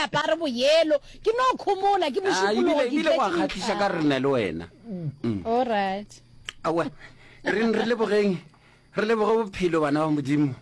apare boyelo ke no khomola ke Ah, mošupologo ebile ke ebile go a tletše kgahliša ka methaka rena le wena alright aowa re re lebogeng Re leboge bophelo bana ba Modimo.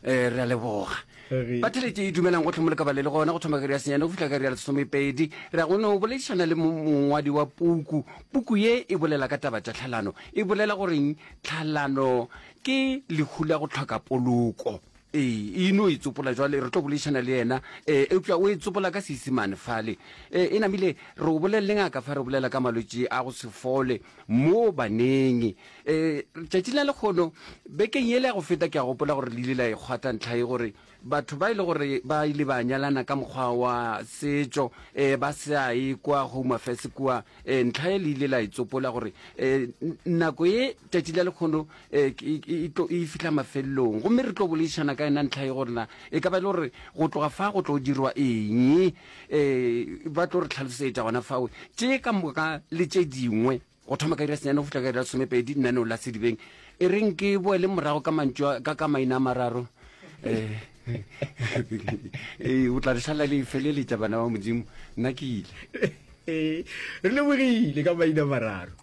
Eh, re a leboga. Batheletše e dumelang go tlhomole ka ba le le gona go thoma ka iri ya senyane go fihla ka iri ya lesomepedi. Re ya go no boledišana le mongwadi wa puku. Puku ye e bolela ka taba tša tlhalano. E bolela goreng tlhalano ke lehu la go hloka poloko. Ee, e no e tsopola jwale re tlo boledišana le yena. Eh, eupša o e tsopola ka Seisemane fale. Eh, e namile re o bolelele ngaka fa re bolela ka malwetši a go se fole mo baneng. E, tšatši la lekgono, bekeng yela ya go feta ke a gopola gore le ile la e kgwatha ntlha ye gore batho ba e le gore ba ile ba nyalana ka mokgwa wa setšo, e, ba sa ye kwa Home Affairs kua, e, ntlha ye le ile la e tsopola gore e, nako ye tšatši la lekgono e, e, e, tlo, e fihla mafelelong. Gomme re tlo boledišana ka yona ntlha ye gore na e ka ba e le gore go tloga fa go tlo dirwa eng, e, ba tlo re hlalosetša gona fao tše ka moka le tše dingwe. Go thoma ka iri ya senyane go fihla ka iri ya lesomepedi, lenaneo la Sedibeng. E reng ke boele morago ka mantšu a, ka, ka maina a mararo. Eh, eh, o tla re šala le e feleletša bana ba Modimo. Nna ke ile. Re lebogile ka maina a mararo.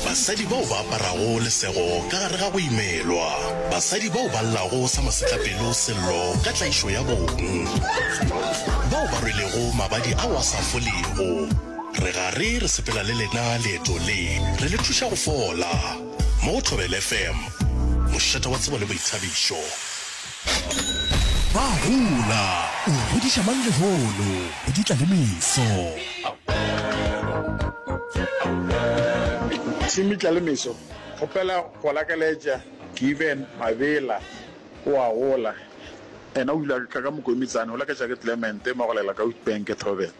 Basadi bao ba aparago lesego ka gare ga go imelwa. Basadi bao ba llago sa masetlapelo sello ka tlaišo ya bong. Bao ba rwelego mabadi ao a sa folego. Re gare re sepela le lena leeto le, re le thuša go fola. Mo go Thobela FM, mošate wa tsebo le boithabišo. Ba gola, o godiša mang lehono, go di tla le meso. Team Tla le Meso, kgopela go lakaletša Given Mabela o a gola. Ena o ile a tla ka Mokomitsane, o laketša ke Clement Magolela ka Witbank, Thobela.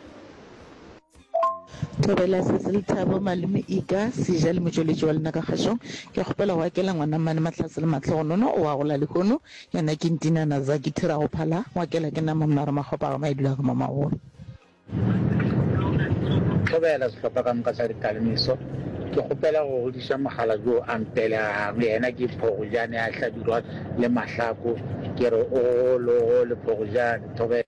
Thobela Sesi Lethabo Malome Ika Seja le motšweletši wa lena ka kgašong. Ke kgopela go akela ngwana mmane Mahlatse le Mahlogonono o a gola lehono. Yena ke Ntinana Zaki Thirago Phala o akela ke nama Mnare Makgopa ga Maedula ga Mamagolo. Thobela sehlopha ka moka sa Ditlalemeso. Ke kgopela go godiša mokgalabje yo a mpelegang. Yena ke Phogojane a Hlabirwa le Mahlako. Ke re o gole o gole Phogojane. Thobela.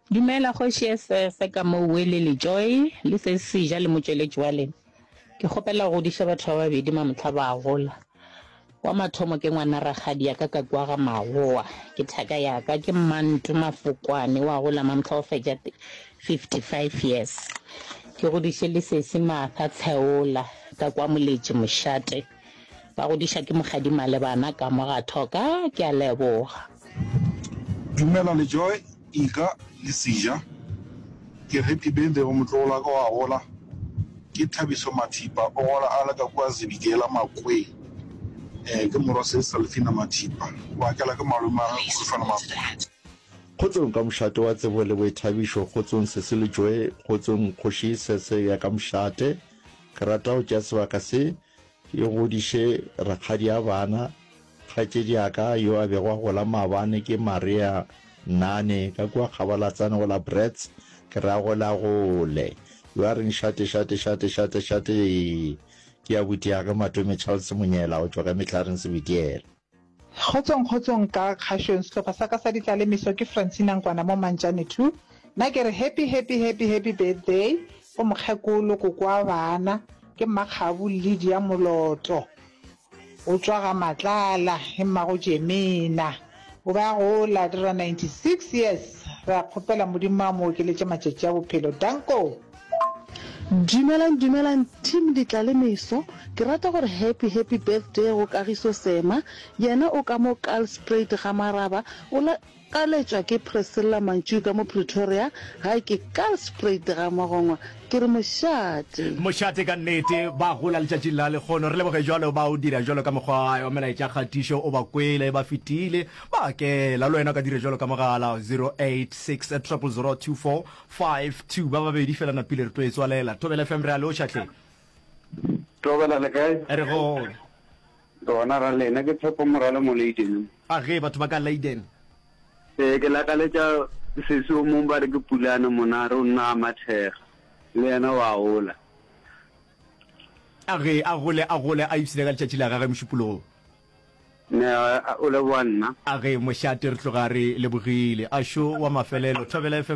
Dumela kgoši Esese ka mo Wele le Joy le se seja le motšweletši wa lena. Ke kgopela go godiša batho ba babedi mamohla ba gola. Wa mathomo ke ngwana rakgadi ya ka ka kua ga Magowa, ke thaka ya ka ke Mmantu Mafokwane wa gola mamohla o fetša 55 years. Ke godiše le sesi Martha Tsheola ka kwa Moletši Mošate. Ba godiša ke Mokgadi Malebana ka mo ga Thoka. Ke a leboga. Dumela le Joy, Ika le Seja. Ke happy birthday go motlogolo wa ka wa gola. Ke Thabiso Mathipa o gola a le ka kua Zebediela Makweng. Eh ke morwa Sis Salfina Mathipa. O akela ke malome wa gagwe Khulufelo Makweng. Kgotsong ka mošate wa tsebo le boithabišo, kgotsong Sesi le Joy, kgotsong Kgoši Sese ya ka mošate. Ke rata go tšea sebaka se Ke godiše rakgadi a bana. Kgaetšedi ya ka yo a bego a gola maabane ke Maria Nane ka kua Kgabalatsane go la Brits. Ke re a golagole. Yo a reng šate šate šate šate šate ke abuti ya ge Matome Charles Monyela go tšwa ka Mehlareng Sebitiela. Kgotsong kgotsong ka kgašong sehlopha sa ka sa ditlalemeso ke Francina Nkwana mo Mantšane 2 nna ke re happy happy happy happy birthday go mokgekolo koko wa bana ke Mmakgabu Lydia Moloto o tšwa ga Matlala ke mmago Jemina o be a gola a dira 96 years re a kgopela Modimo a mo okeletše matšatši a bophelo danko. Dumelang dumelang team Ditlalemeso, ke rata gore happy happy birthday go Kagiso Sema, yena o ka mo Kaalspruit ga Maraba, o la kaletšwa ke Priscilla Mantšu ka mo Pretoria, gae ke Kaalspruit ga Mogongwa, ke re mošate. Mošate ka nnete, ba gola letšatšing la lekgono, re leboge jwalo ba o dira jwalo ka mokgwa wa melaetša kgatišo, o ba kwele ba fetile, ba kela, le wena o ka dira jwalo ka mogala 086 000 24 5, 2, ba babedi fela napile re tlo e tswalela. Thobela FM re a lotšha hle. Thobela le kae? Re gona. Gona ra lena ke Tshepo Morale mo Leiden. A ge batho ba ka Leiden. Ee ke lakaletša sesi o mong ba re ke Pulane Monare o nna a Mathega le yena wa gola. A ge a gole a gole a ipshine ka letšatši la gage Mošupologo. Ne o leboga nna. A ge mošate re tloga re lebogile. A šo wa mafelelo. Thobela FM.